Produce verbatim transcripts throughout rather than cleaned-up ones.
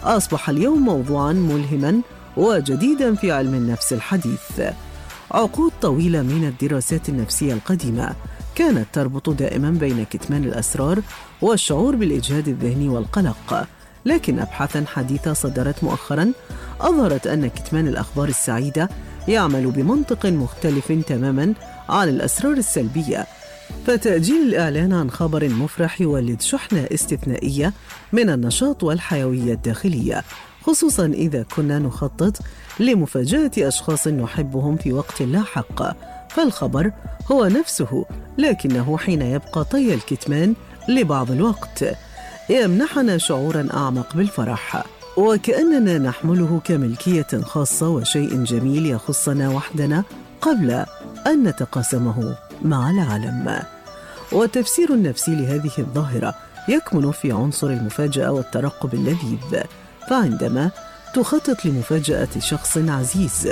أصبح اليوم موضوعاً ملهماً وجديداً في علم النفس الحديث. عقود طويلة من الدراسات النفسية القديمة كانت تربط دائماً بين كتمان الأسرار والشعور بالإجهاد الذهني والقلق، لكن أبحاثاً حديثة صدرت مؤخراً أظهرت أن كتمان الأخبار السعيدة يعمل بمنطق مختلف تماماً عن الأسرار السلبية، فتأجيل الإعلان عن خبر مفرح يولد شحنة استثنائية من النشاط والحيوية الداخلية، خصوصاً إذا كنا نخطط لمفاجأة أشخاص نحبهم في وقت لاحق. فالخبر هو نفسه، لكنه حين يبقى طي الكتمان لبعض الوقت يمنحنا شعوراً أعمق بالفرح، وكأننا نحمله كملكية خاصة وشيء جميل يخصنا وحدنا قبل أن نتقاسمه مع العالم. والتفسير النفسي لهذه الظاهرة يكمن في عنصر المفاجأة والترقب اللذيذ. فعندما تخطط لمفاجأة شخص عزيز،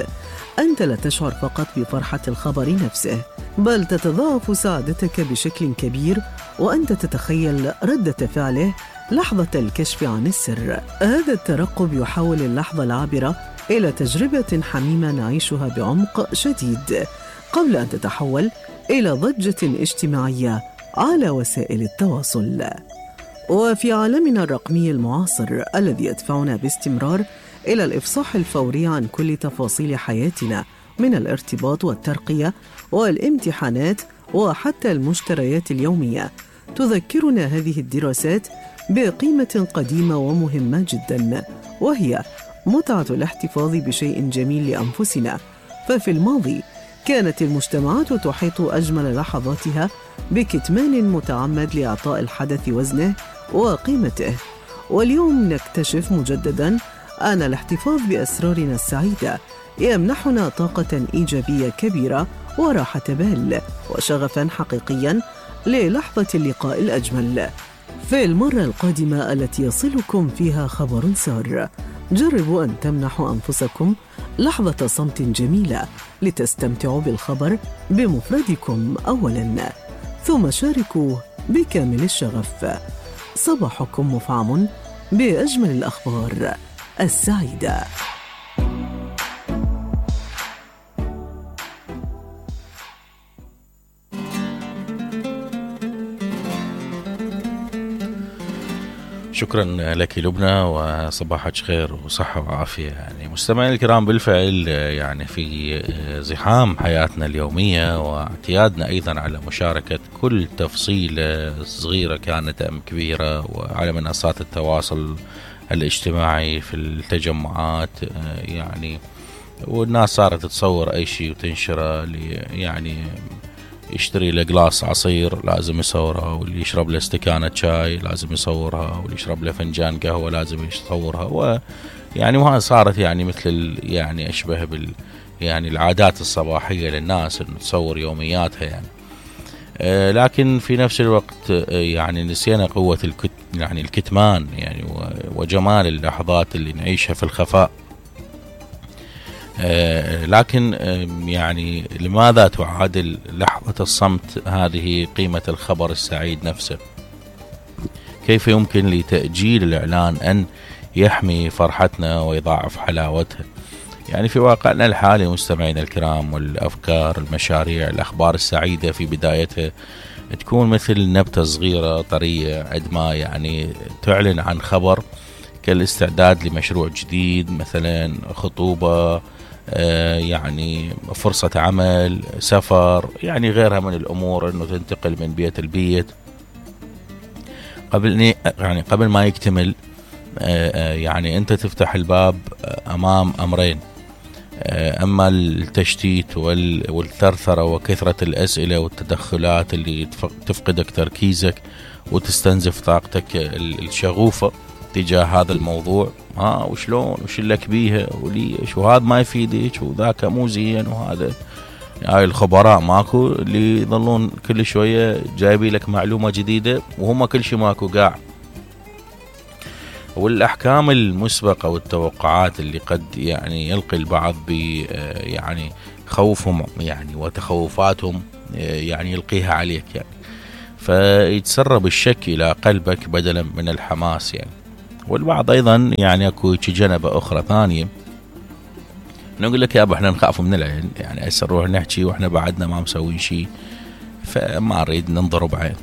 أنت لا تشعر فقط بفرحة الخبر نفسه، بل تتضاعف سعادتك بشكل كبير وأنت تتخيل ردة فعله لحظة الكشف عن السر. هذا الترقب يحول اللحظة العابرة إلى تجربة حميمة نعيشها بعمق شديد قبل أن تتحول إلى ضجة اجتماعية على وسائل التواصل. وفي عالمنا الرقمي المعاصر الذي يدفعنا باستمرار إلى الإفصاح الفوري عن كل تفاصيل حياتنا من الارتباط والترقية والامتحانات وحتى المشتريات اليومية، تذكرنا هذه الدراسات بقيمة قديمة ومهمة جدا، وهي متعة الاحتفاظ بشيء جميل لأنفسنا. ففي الماضي كانت المجتمعات تحيط أجمل لحظاتها بكتمان متعمد لإعطاء الحدث وزنه وقيمته، واليوم نكتشف مجددا أن الاحتفاظ بأسرارنا السعيدة يمنحنا طاقة إيجابية كبيرة وراحة بال وشغفا حقيقيا للحظة اللقاء الأجمل. في المرة القادمة التي يصلكم فيها خبر سار، جربوا أن تمنحوا أنفسكم لحظة صمت جميلة لتستمتعوا بالخبر بمفردكم أولا، ثم شاركوا بكامل الشغف. صباحكم مفعم بأجمل الأخبار السعيدة. شكرا لك لبنى، وصباحك خير وصحة وعافية. يعني مستمعين الكرام، بالفعل يعني في زحام حياتنا اليومية واعتيادنا أيضا على مشاركة كل تفصيلة صغيرة كانت أم كبيرة وعلى منصات التواصل الاجتماعي في التجمعات، يعني والناس صارت تصور أي شيء وتنشره. يعني يشتري له جلاس عصير لازم يصورها، واللي يشرب له استكانة شاي لازم يصورها، واللي يشرب له فنجان قهوة لازم يصورها. ويعني وهذا صارت يعني مثل يعني أشبه بال يعني العادات الصباحية للناس إنه تصور يومياتها يعني. آه لكن في نفس الوقت آه يعني نسينا قوة الكت يعني الكتمان يعني وجمال اللحظات اللي نعيشها في الخفاء. آه لكن آه يعني لماذا تعادل لحظة الصمت هذه قيمة الخبر السعيد نفسه؟ كيف يمكن لتأجيل الإعلان أن يحمي فرحتنا ويضاعف حلاوتها؟ يعني في واقعنا الحالي مستمعين الكرام، والأفكار، المشاريع، الأخبار السعيدة في بدايتها تكون مثل نبتة صغيرة طرية عندما يعني تعلن عن خبر كالاستعداد لمشروع جديد، مثلا خطوبة، آه يعني فرصة عمل، سفر، يعني غيرها من الأمور، أنه تنتقل من بيت البيت. قبل يعني قبل ما يكتمل آه يعني أنت تفتح الباب أمام أمرين: أما التشتيت والثرثرة وكثرة الأسئلة والتدخلات اللي تفقدك تركيزك وتستنزف طاقتك الشغوفة تجاه هذا الموضوع. ها وشلون وش لك بيها وليش وهذا ما يفيدك وذاك مو زين وهذا. هاي الخبراء ماكو اللي يظلون كل شوية جايبي لك معلومة جديدة وهم كل شيء ماكو قاع. والأحكام المسبقة والتوقعات اللي قد يعني يلقي البعض ب يعني خوفهم يعني وتخوفاتهم يعني يلقيها عليك يعني، فيتسرب الشك إلى قلبك بدلا من الحماس يعني. والبعض أيضا يعني أكو جنبة أخرى ثانية نقول لك يا أبا إحنا نخاف من العين، يعني هسه نروح نحكي وإحنا بعدنا ما مسوين شيء، فما أريد ننضرب عين.